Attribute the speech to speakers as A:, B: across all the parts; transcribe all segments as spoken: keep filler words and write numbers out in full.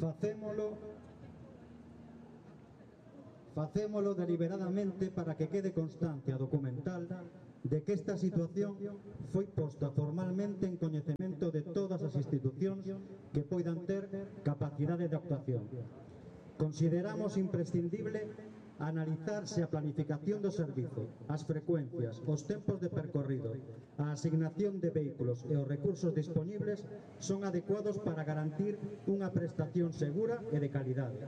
A: Facémolo Facémolo deliberadamente para que quede constancia documental de que esta situación foi posta formalmente en coñecemento de todas as institucións que poidan ter capacidade de actuación. Consideramos imprescindible analizar se a planificación do servizo, as frecuencias, os tempos de percorrido, a asignación de vehículos e os recursos disponibles son adecuados para garantir unha prestación segura e de calidade.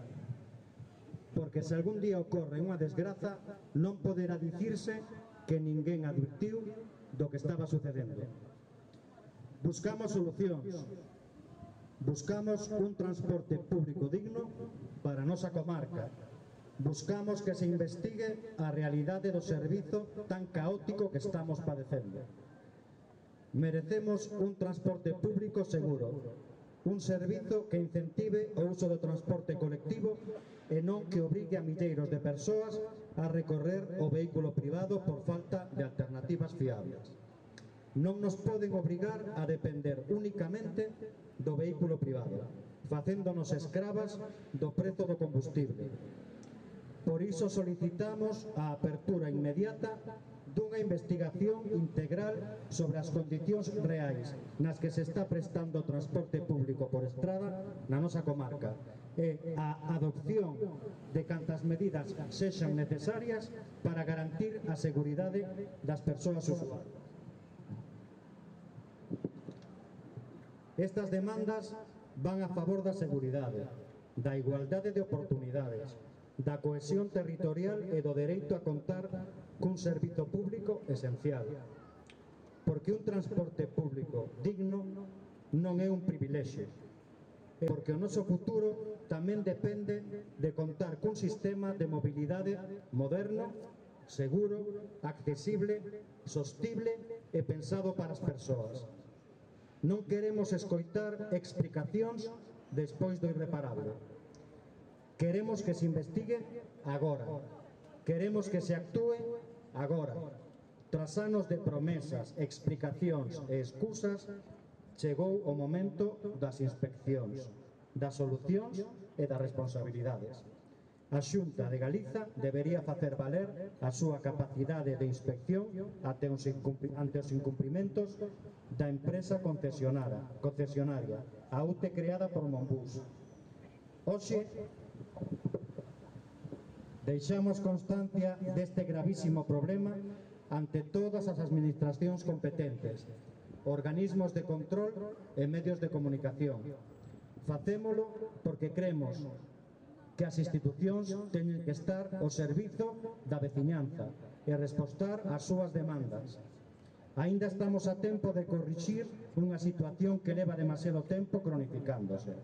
A: Porque se algún día ocorre unha desgraza, non poderá dicirse que ninguén advirtiu do que estaba sucedendo. Buscamos solucións. Buscamos un transporte público digno para a nosa comarca. Buscamos que se investigue a realidade do servizo tan caótico que estamos padecendo. Merecemos un transporte público seguro, un servizo que incentive o uso do transporte colectivo e non que obrigue a milleiros de persoas a recorrer o vehículo privado por falta de alternativas fiables. Non nos poden obrigar a depender únicamente do vehículo privado, facéndonos escravas do prezo do combustible. Por iso solicitamos a apertura inmediata dunha investigación integral sobre as condicións reais nas que se está prestando o transporte público por estrada na nosa comarca e a adopción de cantas medidas sexan necesarias para garantir a seguridade das persoas usuarias. Estas demandas van a favor da seguridade, da igualdade de oportunidades, da cohesión territorial e do dereito a contar cun servizo público esencial. Porque un transporte público digno non é un privilexio, e porque o noso futuro tamén depende de contar cun sistema de mobilidade moderno, seguro, accesible, sostible e pensado para as persoas. Non queremos escoitar explicacións despois do irreparable. Queremos que se investigue agora. Queremos que se actúe agora. Tras anos de promesas, explicacións e excusas, chegou o momento das inspeccións, das solucións e das responsabilidades. A Xunta de Galiza debería facer valer a súa capacidade de inspección ante os incumprimentos da empresa concesionaria, a U T E creada por Monbus. Hoxe deixamos constancia deste gravísimo problema ante todas as administracións competentes, organismos de control e medios de comunicación. Facémolo porque cremos que as institucións teñen que estar ao servizo da veciñanza e respostar ás súas demandas. Aínda estamos a tempo de corrixir unha situación que leva demasiado tempo cronificándose.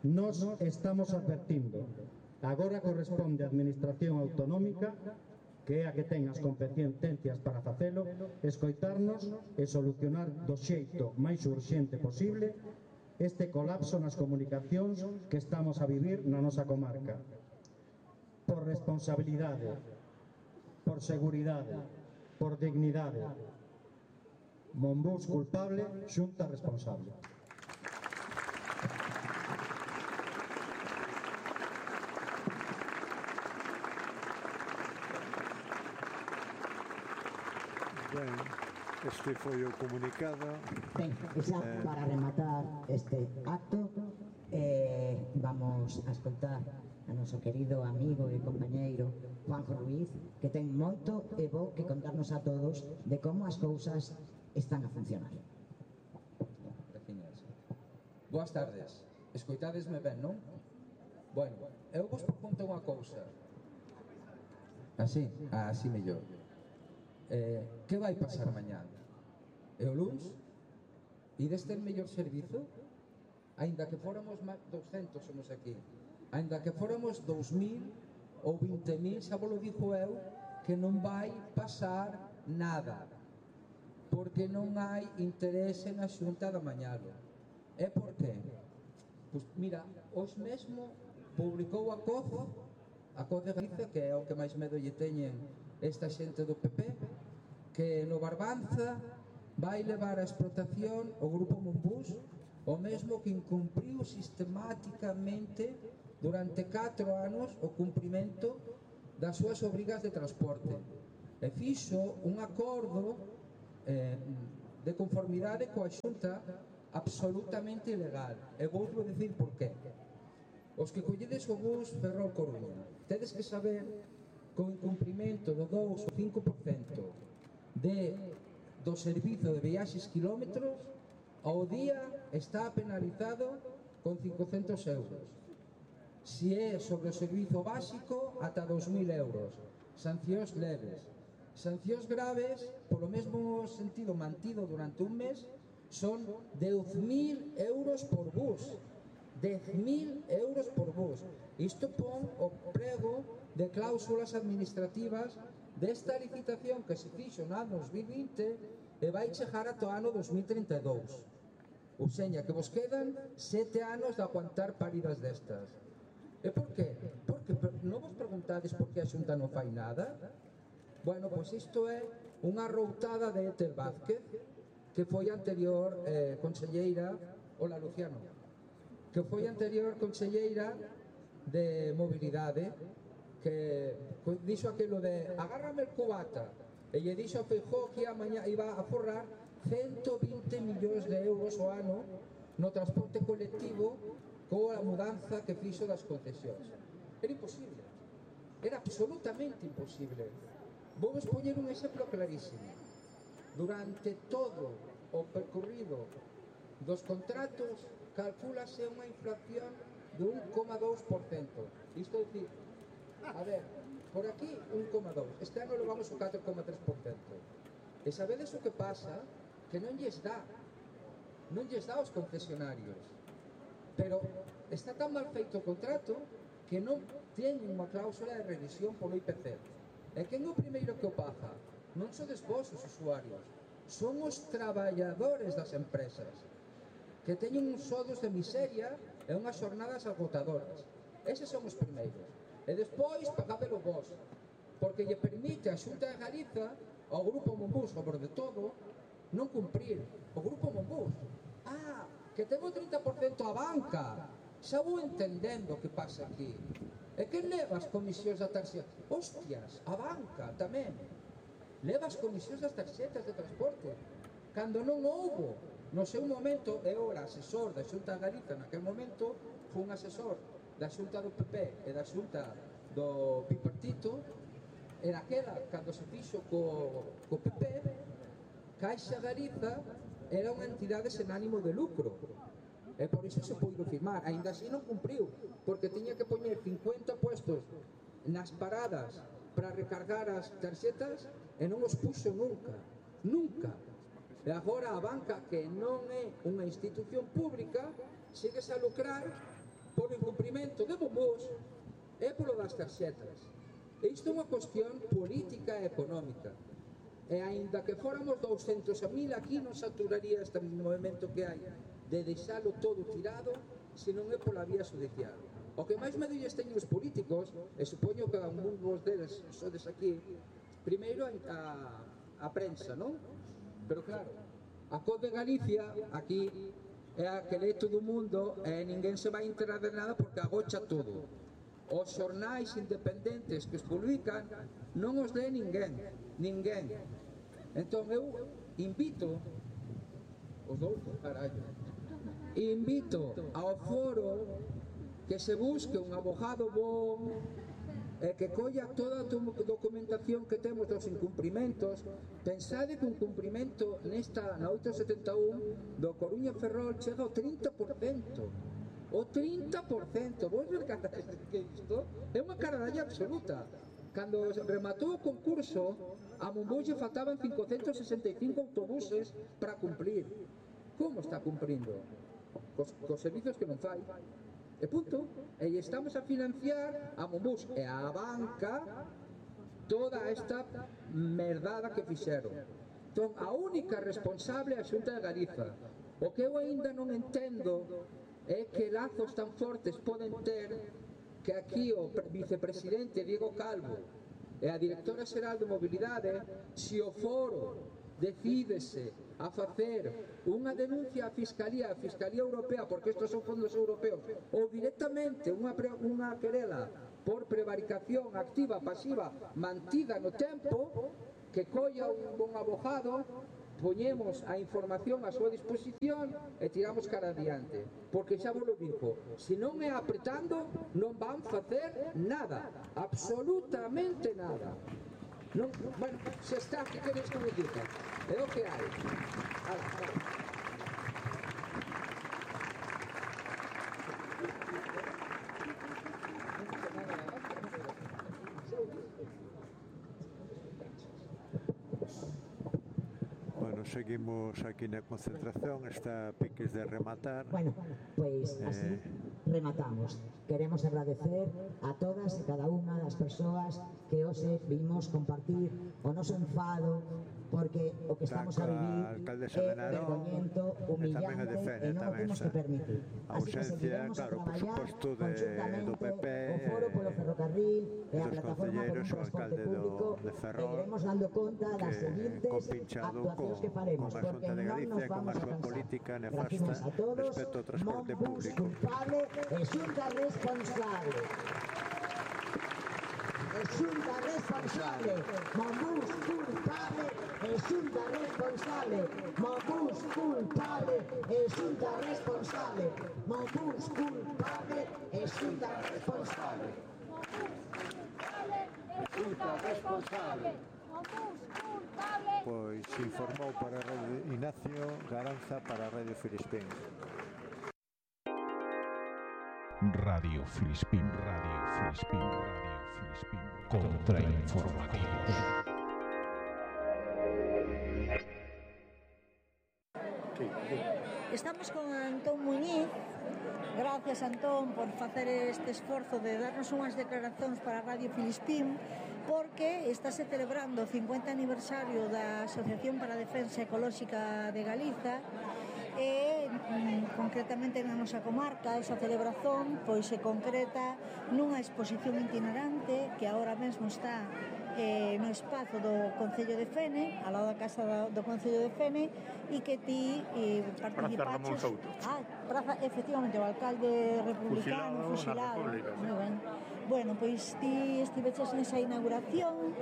A: Nos estamos advertindo. Agora corresponde á Administración Autonómica, que é a que ten as competencias para facelo, escoitarnos e solucionar do xeito máis urxente posible este colapso nas comunicacións que estamos a vivir na nosa comarca. Por responsabilidade, por seguridade, por dignidade. Monbus culpable, Xunta responsable.
B: Ben, este foi o comunicado.
C: Ben, xa para rematar este acto, eh, vamos a escoltar a noso querido amigo e compañeiro Juanjo Ruiz, que ten moito e bo que contarnos a todos de como as cousas están a funcionar.
D: Boas tardes. Escoitadesme ben, non? Bueno, eu vos proponto unha cousa. Así? Ah, así mellor. Eh, que vai pasar mañá? E o luns? Ides ter mellor servizo? Ainda que fóramos doscentos somos aquí, ainda que fóramos dous mil ou vinte mil, xa vos lo dixo eu, que non vai pasar nada, porque non hai interese na Xunta de amañalo. E por qué? Pois mira, hoxe mesmo publicou a C O Z, a C O Z de Galicia, que é o que máis medo lle teñen esta xente do P P, que no Barbanza vai levar a explotación o grupo Monbus o mesmo que incumpriu sistemáticamente durante catro anos o cumprimento das súas obrigas de transporte e fixo un acordo eh, de conformidade coa Xunta absolutamente ilegal. E vou vos dicir por qué. Os que colledes o bus Ferrol Coruña tedes que saber que o incumprimento do dous ou cinco por cento de, do servizo de viaxes quilómetros ao día está penalizado con cincocentos euros. Si é sobre o servizo básico, ata dos mil euros. Sancións leves. Sancións graves, polo mesmo sentido mantido durante un mes, son dez mil euros por bus. dez mil euros por bus. Isto pon o prego de cláusulas administrativas desta licitación que se fixo no ano dos mil vinte e vai chegar ata o ano dos mil trinta e dous. Ou seña, que vos quedan sete anos de aguantar paridas destas. E por qué? Porque non vos preguntades por que a Xunta non fai nada? Bueno, pois isto é unha routada de Etel Vázquez, que foi anterior eh, conselleira, hola Luciano, que foi anterior conselleira de mobilidade, que dixo aquilo de agárrame el cubata, e lle dixo a Feijóo que a mañá iba a forrar cento vinte millóns de euros ao ano no transporte colectivo coa mudanza que fixo das concesións. Era imposible, era absolutamente imposible. Vou vos poñer un exemplo clarísimo. Durante todo o percorrido dos contratos calculase unha inflación de un coma dous por cento. Isto é dicir, a ver, por aquí un coma dous, este ano levamos o catro coma tres por cento. E sabedes o que pasa? Que non lles dá, non lles dá aos concesionarios. Pero está tan mal feito o contrato que non teñen unha cláusula de revisión polo I P C. E quen é o primeiro que o paga? Non sodes vos os usuarios, son os traballadores das empresas, que teñen uns sodos de miseria e unhas xornadas agotadoras. Eses son os primeiros. E despois pagadelo vos, porque lle permite a Xunta de Galiza ao Grupo Monbus, sobre de todo, non cumprir. O Grupo Monbus, ah, que ten o trinta por cento a banca, xa vou entendendo o que pasa aquí. E que leva as comisións da tarxeta? Hostias, a banca tamén leva as comisións das tarxetas de transporte, cando non houbo no seu momento. Eu era asesor da Xunta de Galiza naquele momento, fui un asesor da Xunta do P P e da Xunta do Bipartito, e naquela, cando se fixo co, co P P, Caixa Galiza era unha entidade sen ánimo de lucro, e por iso se puido firmar. Ainda así non cumpriu, porque tiña que poñer cincuenta puestos nas paradas para recargar as tarxetas e non os puxo nunca, nunca. E agora a banca, que non é unha institución pública, sigues a lucrar polo incumprimento de Monbus e polo das tarxetas. E isto é unha cuestión política e económica. E aínda que fóramos douscentos mil aquí, non saturaría este movimento que hai de deixalo todo tirado se non é pola vía judicial. O que máis medulles teñen os políticos, e supoño que algún vos deles sodes aquí, primeiro a, a, a prensa, non? Pero claro, a C O D de Galicia aquí é a que lee todo o mundo e ninguén se vai enterar de nada porque agocha todo. Os xornais independentes que os publican non os lee ninguén, ninguén. Entón eu invito os dous, carallo, invito ao foro que se busque un abogado bom e que colla toda a documentación que temos dos incumprimentos. Pensade que un cumprimento nesta, na oitocentos e setenta e un do Coruña Ferrol chega ao trinta por cento. O trinta por cento, vos ver que isto é unha caradalla absoluta. Cando rematou o concurso, a Monbus lle faltaban cincocentos sesenta e cinco autobuses para cumplir. Como está cumprindo? Cos, cos servizos que non fai. E punto. E estamos a financiar a Monbus e a banca toda esta merdada que fixeron. Entón, a única responsable é a Xunta de Galiza. O que eu aínda non entendo é que lazos tan fortes poden ter que aquí o vicepresidente Diego Calvo e a directora xeral de mobilidade, se o foro decídese a facer unha denuncia á Fiscalía, a Fiscalía Europea, porque estos son fondos europeos, ou directamente unha, unha querela por prevaricación activa, pasiva, mantida no tempo, que colla un bon abogado, poñemos a información a súa disposición e tiramos cara adiante, porque xa vos lo digo, se non é apretando non van facer nada, absolutamente nada. Non, bueno, xa está, que queres que me diga? É o que hai. Ala, ala.
B: Bueno, seguimos aquí na concentración, está a piques de rematar.
C: Bueno, pois así
B: Eh...
C: rematamos. Queremos agradecer a todas e cada unha das persoas que hoxe vimos compartir o noso enfado, porque o que estamos a vivir é vergoñento, humillante e non o temos que permitir. Así que seguiremos a traballar conjuntamente o Foro polo Ferrocarril e a Plataforma por un Transporte Público e iremos dando conta das seguintes actuacións que faremos, porque non nos vamos a cansar. Gracias a todos, Monbus culpable e Xunta responsable. E Xunta responsable, Monbus culpable e Xunta responsable, Monbus culpable e Xunta responsable, Monbus culpable e Xunta responsable.
E: Xunta responsable.
B: Pois informou para a Radio Ignacio Garanza para a Radio Filispín.
F: Radio Filispín, Radio Filispín, Radio Filispín. Contrainformativos.
G: Estamos con Antón Muñiz. Gracias, Antón, por facer este esforzo de darnos unhas declaracións para Radio Filispín, porque estáse celebrando o cincuenta aniversario da Asociación para a Defensa Ecolóxica de Galiza e mm, concretamente na nosa comarca esa celebración pois se concreta nunha exposición itinerante que agora mesmo está eh, no espazo do Concello de Fene, ao lado da Casa do, do Concello de Fene, e que ti eh, participaches... Ah, praza, efectivamente, o alcalde republicano, fusilado. Moi ben. Bueno, pois ti estiveches nesa inauguración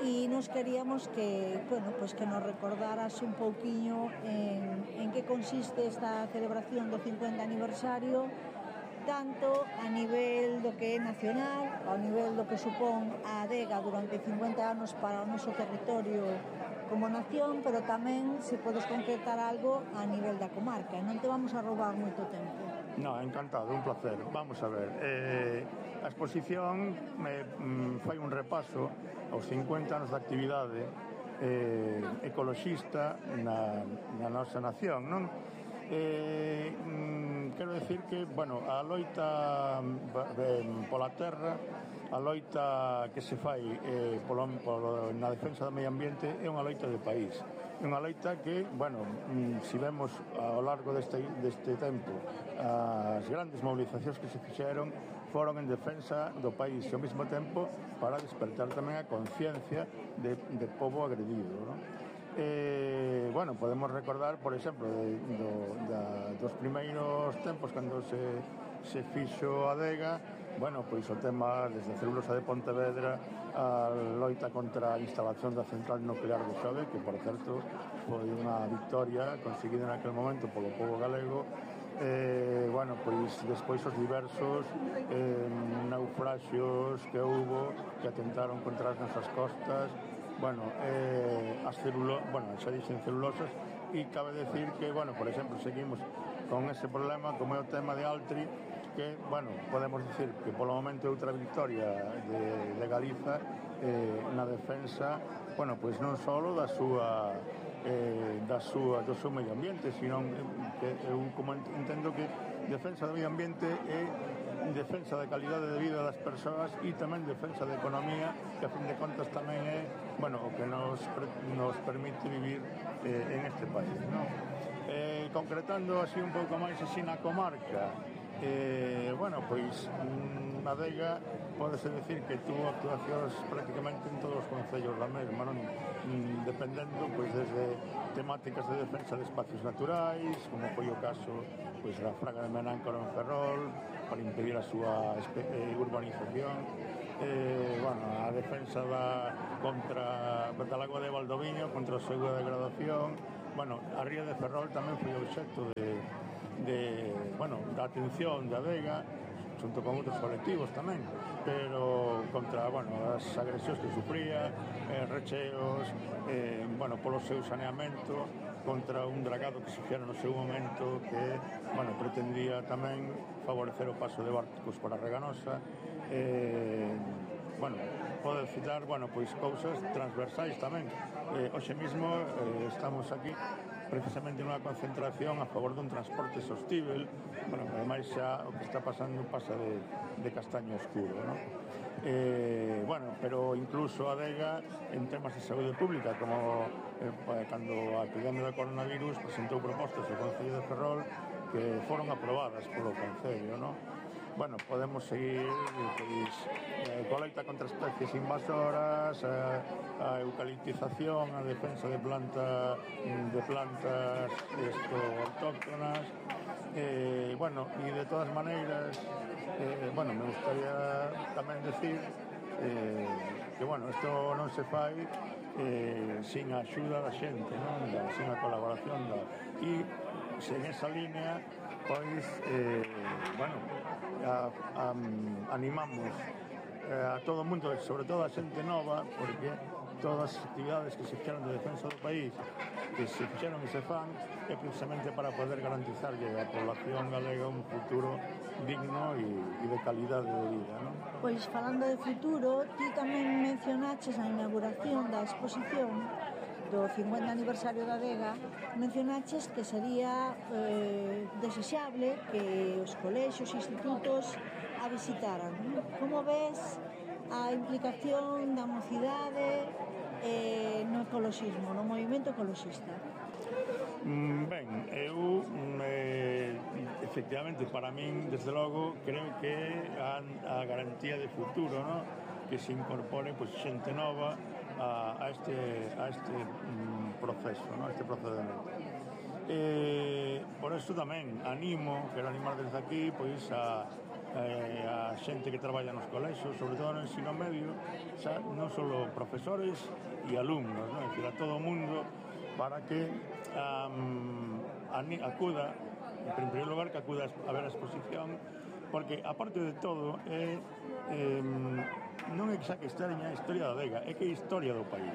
G: e nos queríamos que, bueno, pois que nos recordaras un pouquiño en, en que consiste esta celebración do cincuenta aniversario, tanto a nivel do que é nacional, ao nivel do que supón a adega durante cincuenta anos para o noso territorio como nación, pero tamén se podes concretar algo a nivel da comarca. Non te vamos a roubar moito tempo.
H: No, encantado, un placer. Vamos a ver, eh, a exposición me, mm, fai un repaso aos cincuenta anos de actividade eh, ecoloxista na, na nosa nación, non? Eh, mm, quero decir que, bueno, a loita eh, pola terra, a loita que se fai eh, polo, polo, na defensa do medio ambiente é unha loita de país. É unha loita que, bueno, se vemos ao largo deste, deste tempo as grandes movilizacións que se fixeron foron en defensa do país e ao mesmo tempo para despertar tamén a conciencia de, de povo agredido, non? Eh, bueno, podemos recordar, por exemplo, de, do, da, dos primeiros tempos cando se, se fixo a adega, bueno, pois o tema desde a celulosa de Pontevedra a loita contra a instalación da central nuclear de Xove, que, por certo, foi unha victoria conseguida naquele momento polo povo galego. Eh, bueno, pois despois os diversos eh, naufraxios que houbo que atentaron contra as nosas costas. Bueno, eh, as celulo, bueno, xa dixen celulosas, e cabe decir que, bueno, por exemplo, seguimos con ese problema como é o tema de Altri, que, bueno, podemos dicir que polo momento é outra victoria de, de Galiza eh, na defensa, bueno, pois non só da súa eh, da súa, do seu medio ambiente, sino que eu como entendo que defensa do medio ambiente é defensa da calidade de vida das persoas e tamén defensa da economía, que a fin de contas tamén é, bueno, o que nos, nos permite vivir eh, en este país, non? Eh, concretando así un pouco máis así na comarca, Eh, bueno, pois mm, a Adega pódese decir que tuvo actuacións prácticamente en todos os concellos da mesma, non? Mm, dependendo pois desde temáticas de defensa de espacios naturais, como foi o caso pois da Fraga de Menáncora en Ferrol, para impedir a súa eh, urbanización, eh, bueno, a defensa da contra da lagoa de Valdoviño contra a súa degradación. Bueno, a ría de Ferrol tamén foi obxecto de de, bueno, da atención da Adega xunto con outros colectivos tamén, pero contra, bueno, as agresións que sufría, eh, recheos, eh, bueno, polo seu saneamento, contra un dragado que se fixera no seu momento que, bueno, pretendía tamén favorecer o paso de barcos para Reganosa. Eh, bueno, pode citar, bueno, pois cousas transversais tamén. Eh, hoxe mismo eh, estamos aquí precisamente nunha concentración a favor dun transporte sostível, bueno, ademais xa o que está pasando pasa de, de castaño oscuro, non? Eh, bueno, pero incluso a Adega en temas de saúde pública, como eh, cando a epidemia do coronavirus presentou propostas ao Concello de Ferrol que foron aprobadas polo Concello, non? Bueno, podemos seguir pois, eh, colecta contra especies invasoras, a, a eucaliptización, a defensa de planta de plantas esto, autóctonas, eh, bueno, e de todas maneiras, eh, bueno, me gustaría tamén decir eh, que, bueno, isto non se fai eh, sin a axuda da xente, non? Da, sin a colaboración da... E sen esa línea, pois, eh, bueno, a, a, animamos a todo o mundo, sobre todo a xente nova, porque todas as actividades que se fixeron de defensa do país, que se fixeron e se fan, é precisamente para poder garantizarlle a población galega un futuro digno e, e de calidade de vida, non?
G: Pois, falando de futuro, ti tamén mencionaches na inauguración da exposición do cincuenta aniversario da Adega, mencionaches que sería eh, desexable que os colexios e institutos a visitaran. Como ves a implicación da mocidade eh, no ecoloxismo, no movimento ecoloxista?
H: Mm, ben, eu eh, efectivamente, para min, desde logo, creo que a, a garantía de futuro, ¿no? Que se incorpore pois, xente nova a, a este, a este mm, proceso, ¿no? A este procedimento. Eh, por eso tamén animo, quero animar desde aquí pois a, eh, a xente que traballa nos colexios, sobre todo no ensino medio, xa, non só profesores e alumnos, ¿no? Es decir, a todo o mundo, para que um, acuda, en primeiro lugar, que acuda a ver a exposición, porque, aparte de todo, é, eh, non é xa que extraña a historia da Adega, é que é a historia do país.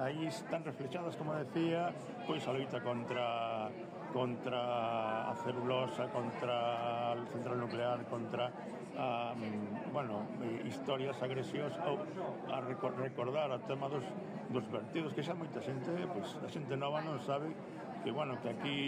H: Aí están reflexadas, como decía, pois a loita contra contra a celulosa, contra a central nuclear, contra a, bueno, historias, agresións, ou a recordar o tema dos, dos vertidos, que xa moita xente, pois a xente nova non sabe que, bueno, que aquí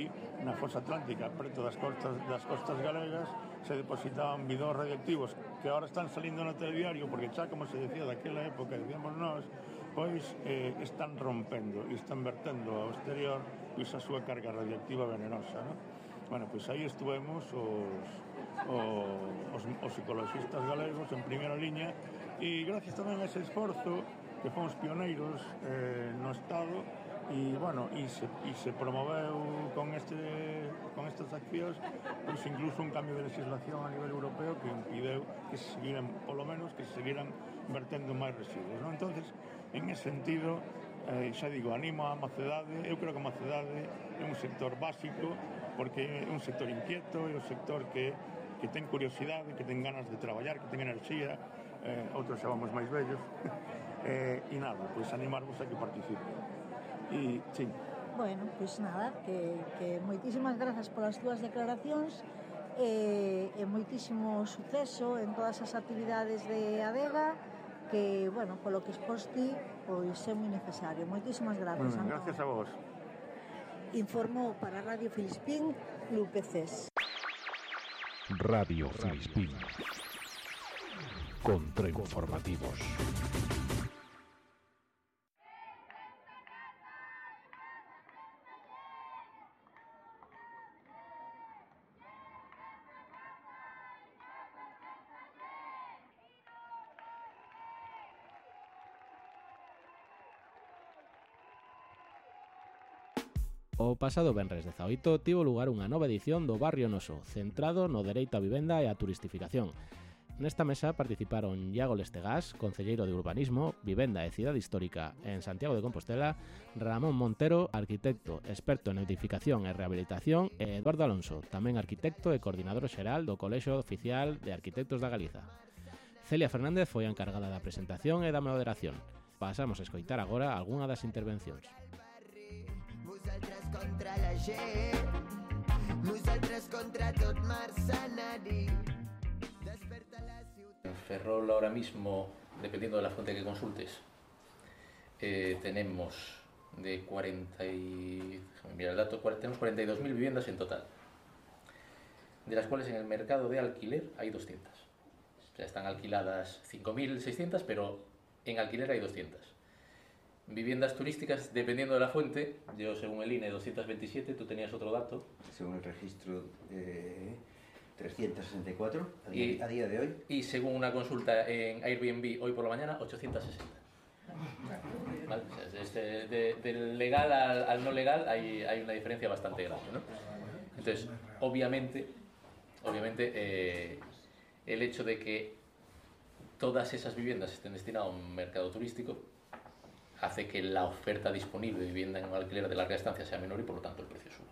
H: na fosa atlántica, preto das costas, das costas galegas, se depositaban bidóns radioactivos que ahora están salindo no telediario, porque xa, como se decía daquela época, decíamos nós, pois eh, están rompendo e están vertendo ao exterior pois a súa carga radioactiva venenosa, non? Bueno, pois aí estuvemos os, os, os ecologistas galegos en primeira liña e gracias tamén a ese esforzo que fomos pioneiros eh, no Estado e, bueno, e se, e se promoveu con, este, con estas accións pois incluso un cambio de legislación a nivel europeo que impideu que se seguiran, polo menos, que se seguiran vertendo máis residuos, non? Entonces, en ese sentido, eh, xa digo, animo a Mocedade, eu creo que a Mocedade é un sector básico, porque é un sector inquieto, é un sector que, que ten curiosidade, que ten ganas de traballar, que ten enerxía, eh, outros xa vamos máis vellos, eh, e nada, pois animarvos a que participen. E, sí.
G: Bueno, pois nada, que, que moitísimas grazas polas túas declaracións e, e moitísimo suceso en todas as actividades de Adega, que, bueno, polo que exposti, pois é moi necesario. Moitísimas grazas,
H: mm,
G: Antón.
H: Gracias a vos.
G: Informou para Radio Filispín, Lupe Cés.
F: Radio Filispín. Contrainformativos.
I: O pasado venres dezaoito tivo lugar unha nova edición do Barrio Noso, centrado no dereito á vivenda e á turistificación. Nesta mesa participaron Iago Lestegás, concelleiro de Urbanismo, Vivenda e Cidade Histórica en Santiago de Compostela, Ramón Montero, arquitecto experto en edificación e rehabilitación, e Eduardo Alonso, tamén arquitecto e coordinador xeral do Colexio Oficial de Arquitectos da Galiza. Celia Fernández foi a encargada da presentación e da moderación. Pasamos a escoitar agora algunha das intervencións.
J: Contra la gent, nosaltres contra tot mercenari. Desperta la ciutat.
K: En Ferrol ahora mismo, dependiendo de la fuente que consultes, eh, tenemos de cuarenta y... Mira el dato, tenemos cuarenta y dos mil viviendas en total, de las cuales en el mercado de alquiler hay doscientas. O sea, están alquiladas cinco mil seiscientas, pero en alquiler hay doscientas. Viviendas turísticas, dependiendo de la fuente, yo según el I N E doscientos veintisiete, tú tenías otro dato.
L: Según el registro eh, trescientos sesenta y cuatro a día, y, a día de hoy.
K: Y según una consulta en Airbnb hoy por la mañana, ochocientos sesenta. ¿Vale? O sea, desde, de, del legal al, al no legal hay, hay una diferencia bastante grande, ¿no? Entonces, obviamente, obviamente eh, el hecho de que todas esas viviendas estén destinadas a un mercado turístico hace que la oferta disponible de vivienda en un alquiler de larga estancia sea menor y por lo tanto el precio suba.